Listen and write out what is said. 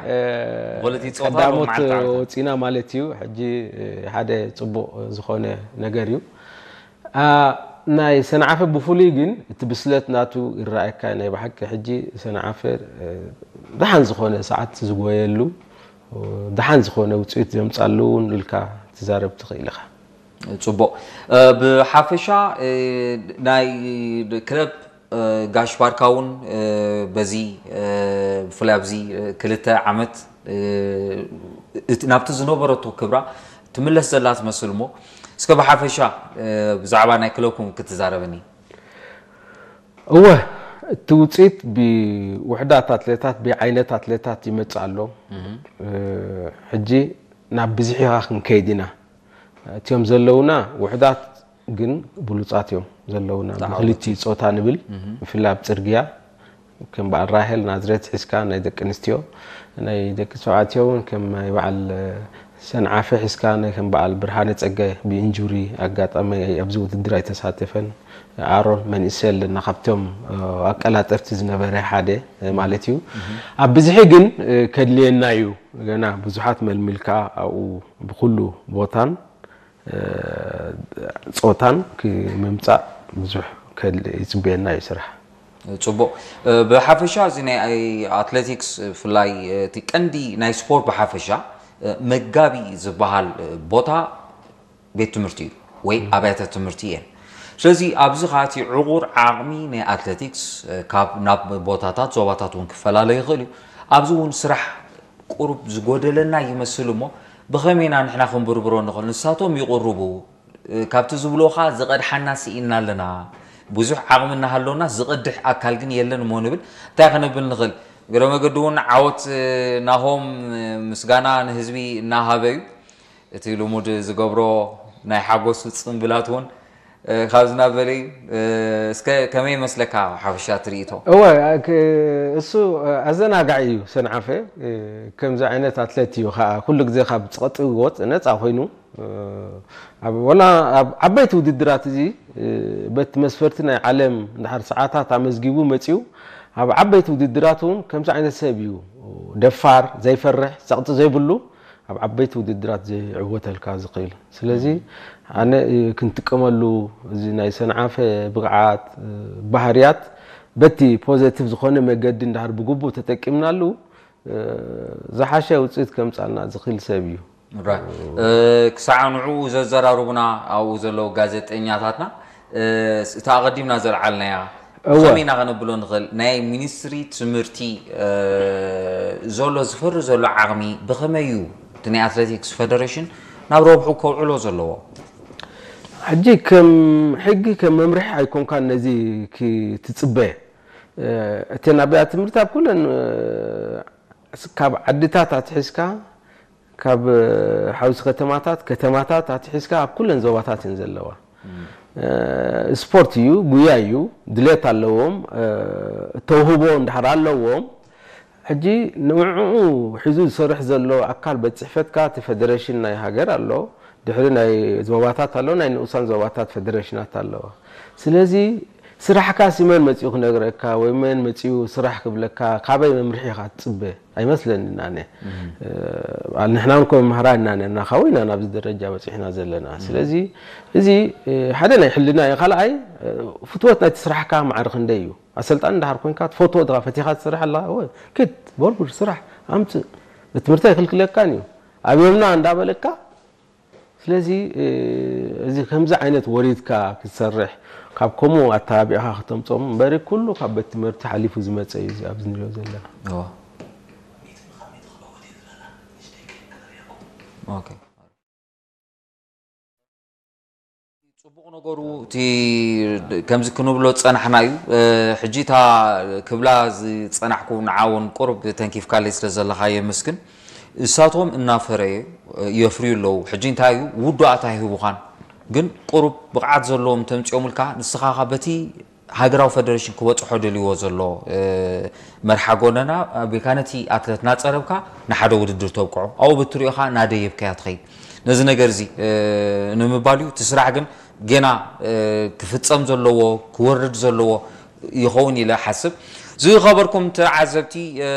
እ፣ ብክልቲኡ ጾታ ቀዳሞት ሎማዓንቲ ዓመታት። ወጺና ማለት እዩ። ሕጂ፣ እ፣ ሓደ ጽቡቕ ዝኾነ ነገር እዩ። አ፣ ናይ ሰንዓፈ ብፍሉይ ግን እቲ ብስለት ናቱ ይረኣየካ። ናይ ብሓቂ ሕጂ ሰንዓፈ፣ እ፣ ደሓን ዝኾነ ሰዓት ዝጎየሉ፣ ደሓን ዝኾነ ውጽኢት ዘምጻሉ እውን ኢልካ ትዛረብ ትኽእል ኢኻ። ጽቡቕ። እ፣ ብሓፈሻ፣ እ፣ ናይ ክለብ፣ እ፣ ጋሽ ባርካ እውን፣ እ፣ በዚ፣ እ፣ ብፍላይ ኣብዚ፣ እ፣ ክልተ ዓመት፣ እ፣ እቲ፣ ናብቲ ዝነበረቶ ክብራ ትምለስ ዘላ ትመስል እሞ፣ እስከ ብሓፈሻ፣ እ፣ ብዛዕባ ናይ ክለብኩም ክትዛረበኒ። እወ፣ እቲ ውጽኢት ብውሕዳት ኣትሌታት፣ ብዓይነት ኣትሌታት ይመጽእ ኣሎ። እ፣ ሕጂ ናብ ብዝሒ ኢኻ ክንከይድ ኢና። እቲኦም ዘለውና ውሕዳት ግን ብሉጻት እዮም ዘለውና። ብክልቲ ጾታ ንብል፣ ብፍላይ ኣብ ጽርግያ፣ ከም በዓል ራሄል ናዝሬት ሒዝካ ናይ ደቂ ኣንስትዮ፣ ናይ ደቂ ተባዕትዮ እውን ከም ናይ በዓል ሰንዓፈ ሒዝካ፣ ናይ ከም በዓል ብርሃነ ጸጋይ ብኢንጁሪ ኣጋጣሚ ኣብዚ ውድድር ኣይተሳተፈን። ኣሮን መንእሰይ ኣለና፣ ካብቶም፣ እ፣ ኣቀላጠፍቲ ዝነበረ ሓደ፣ እ፣ ማለት እዩ። ኣብ ብዝሒ ግን፣ እ፣ ከድልየና እዩ። ገና ብዙሓት መልሚልካ ኣብኡ ብኩሉ ቦታን፣ እ፣ ጾታን ክምምጻእ ብዙሕ ከድሊ ይጽበየና እዩ ስራሕ። ጽቡቕ። እ፣ ብሓፈሻ እዚ ናይ ኣትሌቲክስ ብፍላይ እቲ ቀንዲ ናይ ስፖርት ብሓፈሻ፣ እ፣ መጋቢ ዝበሃል፣ እ፣ ቦታ ቤት ትምህርቲ እዩ ወይ ኣብያተ ትምህርቲ እየን። ስለዚ ኣብዚ ኸኣ እቲ ዕቑር ዓቕሚ ናይ ኣትሌቲክስ፣ እ፣ ካብ ናብ ቦታታት ዞባታት እውን ክፈላለ ይኽእል እዩ። ኣብዚ እውን ስራሕ ቁሩብ ዝጎደለና ይመስል እሞ ብኸመይ ኢና ንሕና ክንብርብሮ ንኽእል? ንሳቶም ይቕርቡ፣ እ፣ ካብቲ ዝብልዎ ኸኣ ዝቐድሓና ስኢንና ኣለና። ብዙሕ ዓቕሚ እናሃለወና ዝቐድሕ ኣካል ግን የለን እሞ ንብል። እንታይ ክንብል ንኽእል? እግረ መገዲ እውን ዓወት፣ እ፣ ናሆም፣ እ፣ ምስጋና ንህዝቢ እናሃበ እዩ። እቲ ልሙድ ዝገብሮ ናይ ሓጎስ ጽምብላት እውን፣ እ፣ ካብዚ ናብ በለ እዩ። እ፣ እስከ ከመይ ይመስለካ ሓፈሻ ትርኢቶ? እወ፣ ክ-፣ እሱ፣ እ፣ ኣዘናጋዒ እዩ ሰንዓፈ። እ፣ ከምዚ ዓይነት ኣትሌት እዩ ኸኣ ኩሉ ግዜ ካብ ጸቕጢ ወጽ-፣ ነጻ ኮይኑ፣ እ፣ ኣብ፣ ወላ ኣብ ዓበይቲ ውድድራት እዚ፣ እ፣ በቲ መስፈርቲ ናይ ዓለም እንድሕር ሰዓታት ኣመዝጊቡ መጺኡ፣ ኣብ ዓበይቲ ውድድራት እውን ከምዚ ዓይነት ሰብ እዩ። ደፋር፣ ዘይፈርሕ፣ ጸቕጢ ዘይብሉ፣ ኣብ ዓበይቲ ውድድራት ዝዕወተልካ ዝኽእል። ስለዚ ኣነ፣ እ፣ ክንጥቀመሉ፣ እዚ ናይ ሰንዓፈ ብቕዓት፣ እ፣ ባህርያት በቲ ፖዘቲቭ ዝኾነ መገዲ እንድሕር ብግቡእ ተጠቂምናሉ፣ እ፣ ዝሓሸ ውጽኢት ከምጻልና ዝኽእል ሰብ እዩ። ራይት። እ፣ ክሳዕ ንዕኡ ዘዘራርቡና ኣብኡ ዘለዉ ጋዜጠኛታትና፣ እ፣ እታ ኣቐዲምና ዘልዓልናያ እወ። ብኸመይ ኢና ከነብሎ ንኽእል? ናይ ሚኒስትሪ ትምህርቲ፣ እ፣ ዘሎ ዝፈሪ ዘሎ ዓቕሚ ብኸመይ እዩ እቲ ናይ ኣትሌቲክስ ፌደሬሽን ናብ ረብሑ ከውዕሎ ዘለዎ? ሕጂ ከም ሕጊ፣ ከም መምርሒ ኣይኮንካን ነዚ ክትጽበ። እ፣ እተን ኣብያተ ትምህርቲ ኣብ ኩለን፣ እ፣ ካብ ዓድታት ኣትሒዝካ፣ ካብ፣ እ፣ ሓውሲ ከተማታት፣ ከተማታት ኣትሒዝካ ኣብ ኩለን ዞባታት እየን ዘለዋ። እ፣ ስፖርት እዩ፣ ጉያ እዩ፣ ድሌት ኣለዎም፣ እ፣ ተውህቦ እንድሕር ኣለዎም፣ ሕጂ ንዕኡ ሒዙ ዝሰርሕ ዘሎ ኣካል ቤት ጽሕፈትካ፣ እቲ ፌደሬሽን ናይ ሃገር ኣሎ፣ ድሕሪ ናይ ዞባታት ኣሎ፣ ናይ ንኡሳን ዞባታት ፌደሬሽናት ኣለዋ። ስለዚ ስራሕካ ሲ መን መጺኡ ክነግረካ ወይ መን መጺኡ ስራሕ ክብለካ፣ ካበይ መምርሒ ኢኻ ትጽበ? ኣይመስለንን ኣነ። እ፣ ንሕና እንኮ መምህራን ኢና ነርና፣ ካብኡ ኢና ናብዚ ደረጃ በጺሕና ዘለና። ስለዚ እዚ፣ እ፣ ሓደ ናይ ሕልና እዩ። ካልኣይ፣ እ፣ ፍትወት ናይቲ ስራሕካ ማዕረ ክንደይ እዩ? ኣሰልጣኒ እንድሓር ኮንካ ትፈትዎ ድኻ፣ ፈቲኻ ትሰርሕ ኣለኻ፣ እወ፣ ክድ፣ ቦርቡር፣ ስራሕ፣ ኣምጽእ። እቲ ትምህርቲ ኣይክልክለካን እዩ። ኣብዮምና እንዳበለካ፣ ስለዚ፣ እ፣ እዚ ከምዚ ዓይነት ወሪድካ ክትሰርሕ፣ ካብ ከምኡ ኣተባቢዕካ ክተምጾም እምበሪ፣ ኩሉ ካብ ቤት ትምህርቲ ሓሊፉ ዝመጸ እዩ እዚ ኣብዚ ንሪኦ ዘለና። እወ። ኦኬ። ጽቡቕ ነገሩ እቲ ከምዚ ክንብሎ ዝጸናሕና እዩ። እ፣ ሕጂ እታ ክብላ ዝጸናሕኩ ንዓ እውን ቁሩብ ተንኪፍካለይ ስለ ዘለኻ የመስግን። እሳቶም እናፈረየ፣ እ፣ የፍርዩ ኣለዉ። ሕጂ እንታይ እዩ ውዱኣት ኣይህቡኻን፣ ግን ቁሩብ ብቕዓት ዘለዎም ተምጺኦምልካ ንስኻ ኸኣ በቲ ሃገራዊ ፈደረሽን ክበጽሖ ደልይዎ ዘሎ፣ እ፣ መርሓ ጎደና ኣቢልካ ነቲ ኣትለት እናጸረብካ ንሓደ ውድድር ተብቅዖ። ኣብኡ ብትሪኦ ኸኣ እናደየብካያ ትኸይድ። ነዚ ነገር እዚ፣ እ፣ ንምባል እዩ። እቲ ስራሕ ግን ጌና፣ እ፣ ክፍጸም ዘለዎ፣ ክወርድ ዘለዎ ይኸውን ኢለ እሓስብ። ዝኸበርኩም ተዓዘብቲ፣ እ፣